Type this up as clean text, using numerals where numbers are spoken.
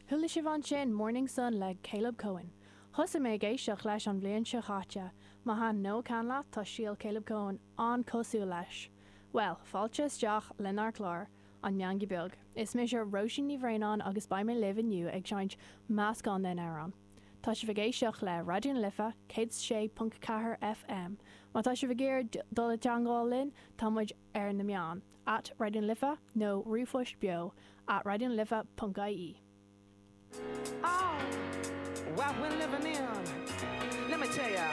Chuala sibh ansin Morning Sun le Caleb Cohen. Thosaigh mé ag éisteacht leis an bhliain seo chaite. Má thaitneodh ceann leat, tá stíl Caleb Cohen an-cosúil leis. Bhuel, fáilte isteach lenár clár, An Meangadh Beag. Is mise Róisín Ní Bhraonáin agus beidh mé libh inniu ag seinnt meascán den amhrán. Tá sibh ag éisteacht le Raidió na Life 106.4 FM. Má tá sibh ag iarraidh dul i dteangmháil linn, tá muid ar na meáin, at Raidió na Life nó ríomhphost beo at raidionalife.ie. Oh, what we're living in. Let me tell ya.